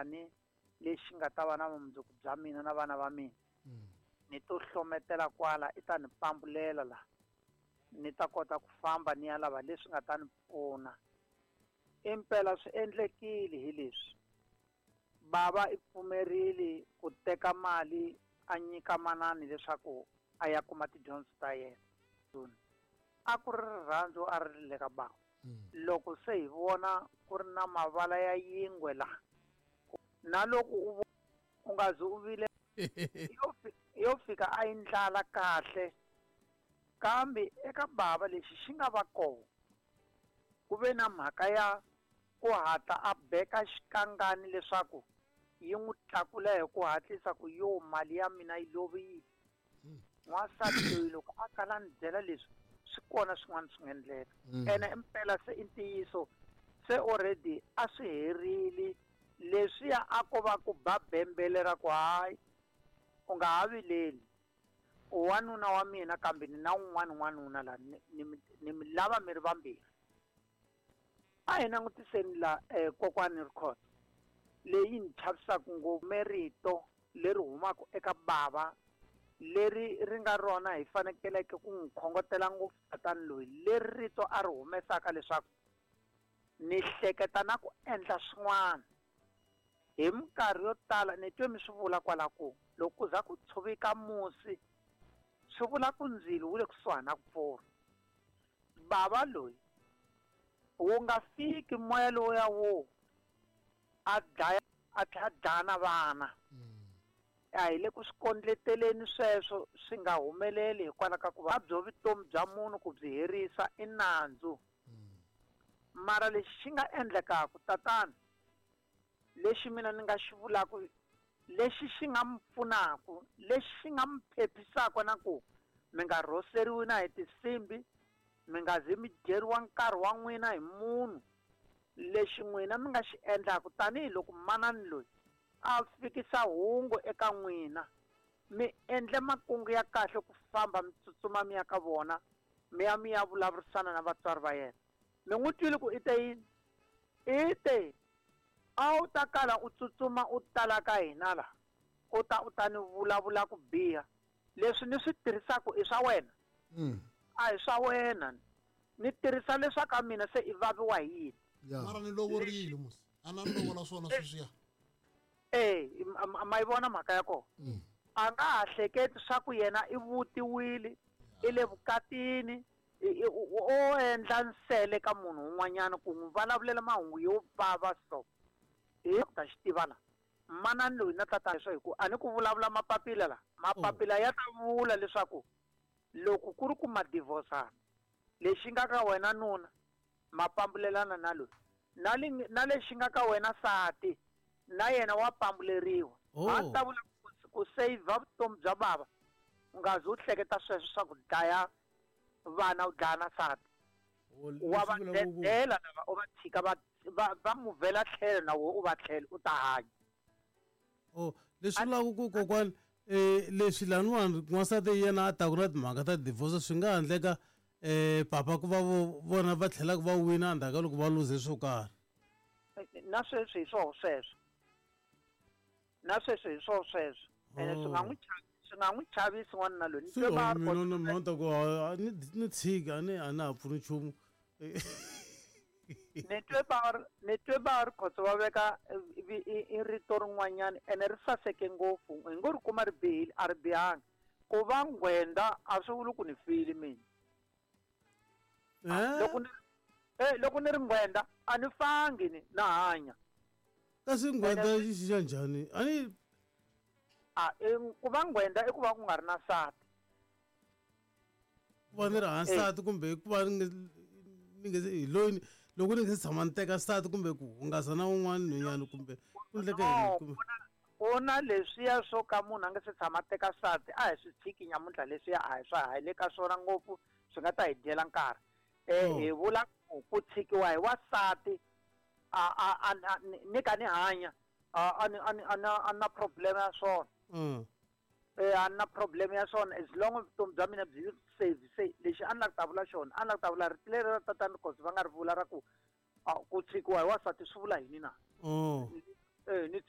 njhani lexi nga ta va na vumundzuku bya mina na vana va mina. Ni to hlometela kwala i ta ni pambulela la ni ta kota ku famba ni ya lava leswi nga ta ni pfuna. Impela swi endlekile hi leswi bava i pfumerile ku teka mali a nyika manani leswaku a ya kuma tidyondzo ta yena. A ku ri rirhandzu a ri le ka bava. Loko se hi vona ku ri na mavala ya yingwe la na loko u nga zi u vile yo fika a yi ndlala kahle, kambe eka bava lexi xi nga va kona ku ve na mhaka ya ku hatla a beka xikangani leswaku yi n'wi tlakula hi ku hatlisa ku yo mali ya mina yi lovile. N'wansati loyi loko a kala ni byela leswi swi kona swin'wana swi nga endleka. Ene impela se i ntiyiso se already a swi herile leswiya a ko va ku ba bembele ra ku hayi u nga ha vileli u wanuna wa mina kambe ni na un'wana n'wanuna la ni mi lava mi ri vambirhi. A hi langutiseni la kokwani Rikhotso leyi ni chavisaka ngopfu merito leri humaka eka bava leri ri nga rona hi fanekeleke ku n'wi khongotela ngopfu tatani loyi leri rito a ri humesaka leswaku ni hleketa na ku endla swin'wana. Hi minkarhi yo tala ni twe mi swi vula kwala ku loko ku za ku tshoveka musi swi vula ku ndzilo wu le kusuhani na ku pfurha. Bava loyi wu nga fiki moya lowuya wo a dlaya a tlhela a dlaya na vana. A hi le ku swi kondleteleni sweswo swi nga humeleli hikwalaho ka ku va byo vutomi bya munhu ku byi herisa i nandzu. Mara lexi xi nga endlekaka tatana lexi mina ni nga xi vulaka lexi xi nga mi pfunaka lexi xi nga mi phephisaka na ku mi nga rhoseriwi na hi tinsimbi mi nga zi mi dyeriwa nkarhi wa n'wina hi munhu lexi n'wina mi nga xi endlaka tanihiloko manani loyi a fikisa hungu eka n'wina mi endle makungu ya kahle ku famba mi tsutsuma mi ya ka vona mi ya mi ya vulavurisana na vatswari va yena. Mi n'wi twile ku i te yini? I te a wu ta kala u tsutsuma u tala ka hina la u ta u ta ni vulavula ku biha leswi ni swi tirhisaka i swa wena. A hi swa wena ni tirhisa leswa ka mina se i vaviwa hi yini. Mara ni lovorile musi a na ni lovola swona sweswiya. Ma yi vona mhaka ya kona. A nga ha hleketi swa ku yena i vutiwile i le vukatini o endla nsele ka munhu un'wanyana ku n'wi vulavulela mahungu yo vava so hi ta xi tiva la manani loyi na tatana leswo hi ku a ni ku vulavula mapapila la mapapila ya ta vula leswaku loko ku ri ku ma divorcana lexi nga ka wena nuna ma pambulelana na loyi na lexi nga ka wena sati na yena wa pambuleriwa. A ta vula ku save vutomi bya bava u nga zi u hleketa sweswo swa ku dlaya vana u dlaya na sati. Wa va dedela lava u va tshika va muvhela tlhelo na wena u va tlhelo u ta hanya. Leswi vulaka ku kokwani leswi laniwani n'wansati yena a taku na timhaka ta divorce swi nga endleka papa ku va vona va tlhelaka va wina endzhaku ka loko va luze swo karhi. Na sweswi hi swoho sweswo. Na sweswi hi swoho sweswo. Ene swi nga n'wi swi nga n'wi chavisi n'wanuna loyi. Ni mina na mhanta ku ni tshika ni a na ha pfuni nchumu. Ni twe va ri Khotso va veka i rito rin'wanyana ene ri saseke ngopfu hi ngo ri kuma ri bihile a ri bihanga. Ku va nghwenda a swi vuli ku ni file mina. Loko ni ri nghwenda a ni fangi ni na hanya. Kasi nghwenda yi xi xa njhani? A ni ku va nghwenda i ku va ku nga ri na nsati. Ku va ni ri hansi nsati kumbe ku va ni nge hi loyi loko ni nge se tshama ni teka nsati kumbe ku hungasa na un'wana nhwenyana kumbe ku endleke yini kumbe ku na leswiya swo ka munhu a nge se tshama teka nsati a hi swi tshiki nyamuntlha leswiya a hi swa ha le ka swona ngopfu swi nga ta hi dyela nkarhi. Hi vula ku tshikiwa hi wansati a ni ka ni hanya a na problem ya swona. A na problem ya swona as long as vutomi bya mina byi save se lexi a ni la ku ta vula xona a ni la ku ta vula rito leri ra tatana Khosi va nga ri vula ra ku ku tshikiwa hi wansati swi vula yini na? Ni